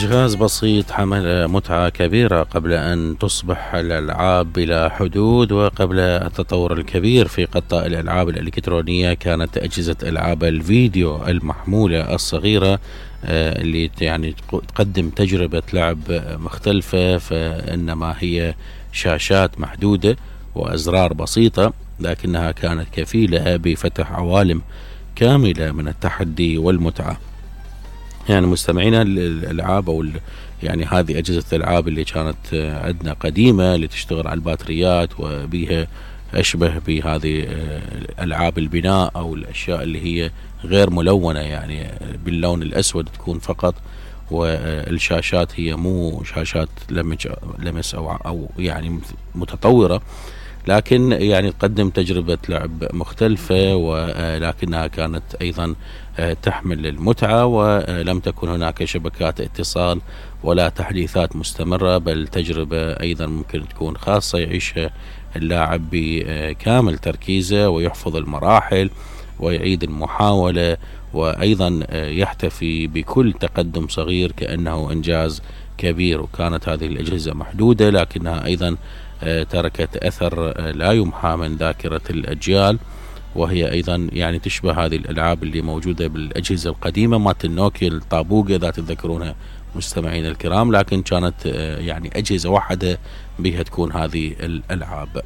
جهاز بسيط حمل متعة كبيرة قبل أن تصبح الألعاب بلا حدود، وقبل التطور الكبير في قطاع الألعاب الإلكترونية كانت أجهزة ألعاب الفيديو المحمولة الصغيرة اللي يعني تقدم تجربة لعب مختلفة، فإنما هي شاشات محدودة وأزرار بسيطة، لكنها كانت كفيلة بفتح عوالم كاملة من التحدي والمتعة. يعني مستمعينا الألعاب أو يعني هذه أجهزة الألعاب اللي كانت عندنا قديمة اللي تشتغل على الباتريات وبيها أشبه بهذه ألعاب البناء أو الأشياء اللي هي غير ملونة، يعني باللون الأسود تكون فقط، والشاشات هي مو شاشات لمس أو يعني متطورة، لكن يعني تقدم تجربة لعب مختلفة، ولكنها كانت أيضا تحمل المتعة، ولم تكن هناك شبكات اتصال ولا تحديثات مستمرة، بل تجربة أيضا ممكن تكون خاصة يعيشها اللاعب بكامل تركيزه ويحفظ المراحل ويعيد المحاولة، وأيضا يحتفي بكل تقدم صغير كأنه إنجاز كبير. وكانت هذه الأجهزة محدودة لكنها أيضا تركت أثر لا يمحى من ذاكرة الأجيال، وهي أيضا يعني تشبه هذه الألعاب اللي موجودة بالأجهزة القديمة مالت النوكيا الطابوقة إذا تتذكرونها مستمعين الكرام، لكن كانت يعني أجهزة واحدة بها تكون هذه الألعاب.